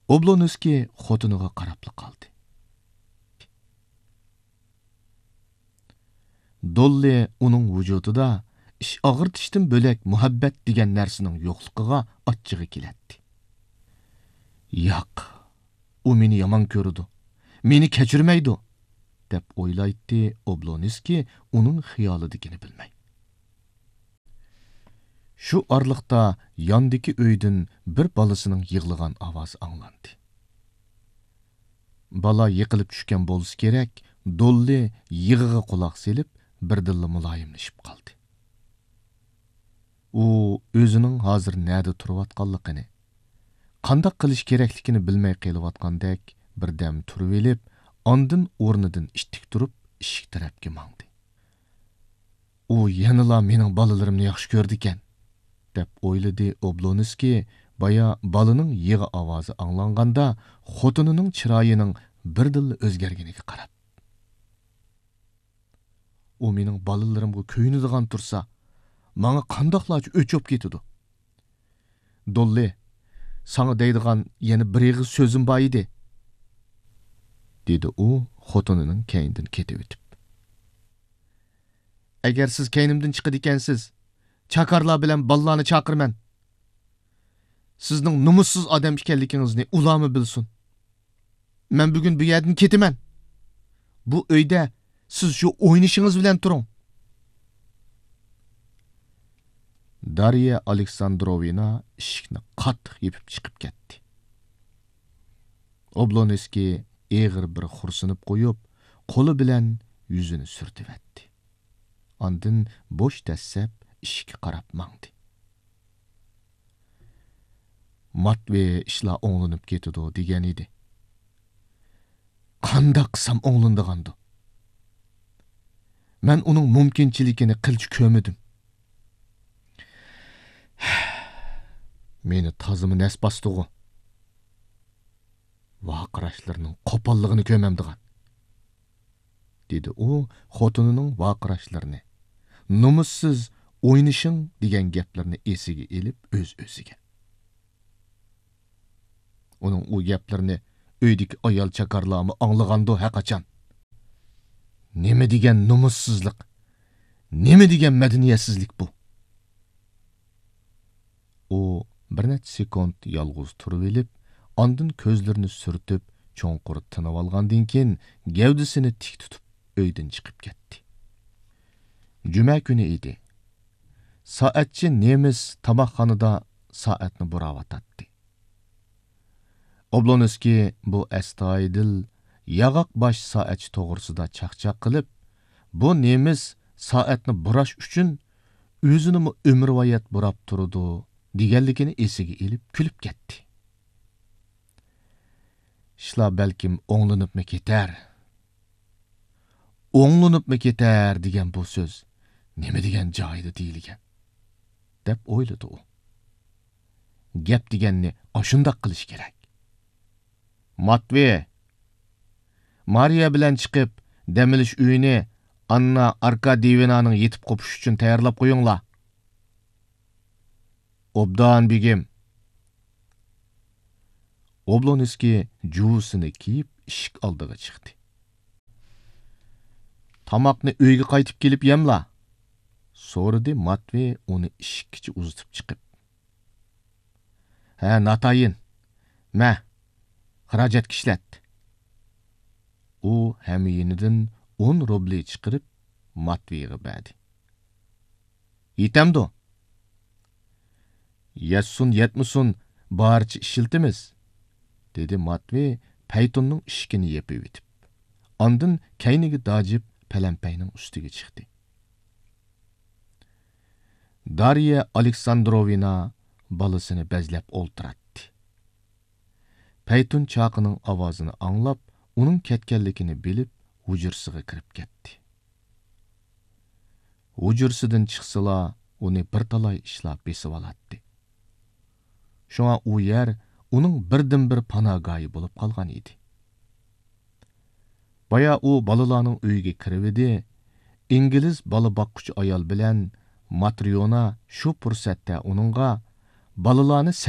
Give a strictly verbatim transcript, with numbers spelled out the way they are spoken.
ئوبلونسكىي خوتۇنىغا قاراپلا قالدى. دوللى ئۇنىڭ ۋۇجۇدىدا ئىچ ئاغرىتىشتىن بۆلەك مۇھەببەت دېگەن نەرسىنىڭ يوقلۇقىغا ئاچچىقى كېلەتتى. ياق، ئۇ مېنى يامان كۆرىدۇ، مېنى كەچۈرمەيدۇ، دەپ ئويلايتتى ئوبلونسكىي ئۇنىڭ خىيالىدىكىنى بىلمەي. شۇ ئارىلىقتا ياندىكى ئۆيدىن بىر بالىسىنىڭ يىغلىغان ئاۋازى ئاڭلاندى. بالا يىقىلىپ چۈشكەن بولسا كېرەك، دوللى يىغىغا قۇلاق سېلىپ، بىردىنلا مۇلايىملىشىپ قالدى. ئۇ ئۆزىنىڭ ھازىر نەدە تۇرۇۋاتقانلىقىنى، قانداق قىلىش كېرەكلىكىنى بىلمەي قېلىۋاتقاندەك بىردەم تۇرۇۋېلىپ، ئاندىن ئورنىدىن ئىتتىك تۇرۇپ، ئىشىك تەرەپكە ماڭدى. ئۇ يەنىلا مېنىڭ بالىلىرىمنى ياخشى كۆرىدىكەن، دەپ ئويلىدى ئوبلونسكىي بايا بالىنىڭ يىغا ئاۋازى ئاڭلانغاندا خوتۇنىنىڭ چىرايىنىڭ بىردىنلا ئۆزگەرگىنىگە قاراپ. ئۇ مېنىڭ بالىلىرىمغا كۆيۈنىدىغان تۇرسا، ماڭا قانداقلارچە ئۆچ بولۇپ كېتىدۇ؟ دوللى، ساڭا دەيدىغان يەنە بىر ئېغىز سۆزۈم بار ئىدى، دېدى ئۇ خوتۇنىنىڭ كەينىدىن كېتىۋېتىپ. ئەگەر سىز كەينىمدىن چىقىدىكەنسىز، چاكارلار بىلەن بالىلارنى چاقىرىمەن. سىزنىڭ نومۇسسىز ئادەم ئىكەنلىكىڭىزنى ئۇلارمۇ بىلسۇن. مەن بۈگۈن بۇ يەردىن كېتىمەن. بۇ ئۆيدە سىز شۇ ئوينىشىڭىز بىلەن تۇرۇڭ. دارىيە ئالېكساندروۋنا ئىشىكنى قاتتىق يېپىپ چىقىپ كەتتى. ئوبلونسكىي ئېغىر بىر خورسىنىپ قويۇپ، قولى بىلەن يۈزىنى سۈرتۈۋەتتى. ئاندىن بوش دەسسەپ ئىشىككە قاراپ ماڭدى. ماتۋېي ئىشلار ئوڭلىنىپ كېتىدۇ دېگەن ئىدى. قانداق قىلسام ئوڭلىنىدىغاندۇ؟ مەن ئۇنىڭ مۇمكىنچىلىكىنى قىلچە كۆرمىدىم. مېنى تازىمۇ نەس باستىغۇ. ۋارقىراشلىرىنىڭ قوپاللىقىنى كۆرمەمدىغان. دېدى ئۇ خوتۇنىنىڭ ۋارقىراشلىرىنى، نومۇسسىز ئوينىشىڭ دېگەن گەپلىرىنى ئېسىگە ئېلىپ ئۆز-ئۆزىگە. ئۇنىڭ ئۇ گەپلىرىنى ئۆيدىكى ئايال چاكارلارمۇ ئاڭلىغاندۇ ھەرقاچان؟ نېمە دېگەن نومۇسسىزلىق، نېمە دېگەن مەدەنىيەتسىزلىك بۇ؟ ئۇ بىر نەچچە سېكۇنت يالغۇز تۇرۇۋېلىپ، ئاندىن كۆزلىرىنى سۈرتۈپ، چوڭقۇر تىنىۋالغاندىن كېيىن، گەۋدىسىنى تىك تۇتۇپ، ئۆيدىن چىقىپ كەتتى. جۈمە كۈنى ئىدى. سائەتچى نېمىس تاماقخانىدا سائەتنى بۇراۋاتاتتى. ئوبلونسكىي بۇ ئەستايىدىل، ياغاق باش سائەتچى توغرىسىدا چاقچاق قىلىپ، بۇ نېمىس سائەتنى بۇراش ئۈچۈن ئۆزىنىمۇ ئۆمۈرۋايەت بۇراپ تۇرىدۇ، دېگەنلىكىنى ئېسىگە ئېلىپ كۈلۈپ كەتتى. ئىشلار بەلكىم ئوڭلىنىپمۇ كېتەر. ئوڭلىنىپمۇ كېتەر دېگەن بۇ سۆز نېمە دېگەن جايىدا دېيىلگەن؟ دەپ ئويلىدى ئۇ. گەپ دېگەننى ئاشۇنداق قىلىش كېرەك. ماتۋېي، مارىيا بىلەن چىقىپ، دەم ئېلىش ئۆيىنى ئاننا ئاركاديېۋنانىڭ يېتىپ قوپۇشى ئۈچۈن تەييارلاپ قويۇڭلار. ئوبدان، بېگىم. ئوبلونسكىي جۇۋىسىنى كىيىپ، ئىشىك ئالدىغا چىقتى. تاماقنى ئۆيگە قايتىپ كېلىپ يەملا، سورىدى ماتۋېي ئۇنى ئىشىككىچە ئۇزىتىپ چىقىپ. ھە، ناتايىن. مە، خىراجەتكە ئىشلەت. ئۇ ھەميىنىدىن ئون روبلى چىقىرىپ، ماتۋېيغا بەردى. يېتەمدۇ؟ يەتسۇن يەتمىسۇن، بارىچە ئىشلىتىمىز، دېدى ماتۋېي پەيتۇننىڭ ئىشىكىنى يېپىۋېتىپ. ئاندىن كەينىگە داجىپ پەلەمپەينىڭ ئۈستىگە چىقتى. دارىيە ئالېكساندروۋنا بالىسىنى بەزلەپ ئولتۇراتتى. پەيتۇن چاقىنىڭ ئاۋازىنى ئاڭلاپ، ئۇنىڭ كەتكەنلىكىنى بىلىپ، ھۇجرىسىغا كىرىپ كەتتى. ھۇجرىسىدىن چىقسىلا، ئۇنى بىر تالاي ئىشلار بېسىۋالاتتى. شۇڭا ئۇ يەر ئۇنىڭ بىردىنبىر پاناھگاھى بولۇپ قالغان ئىدى. بايا ئۇ بالىلارنىڭ ئۆيىگە كىرىۋىدى، ئىنگلىز بالا باققۇچى ئايال بىلەن ماتريونا شۇ پۇرسەتتە ئۇنىڭغا بالىلارنى سەي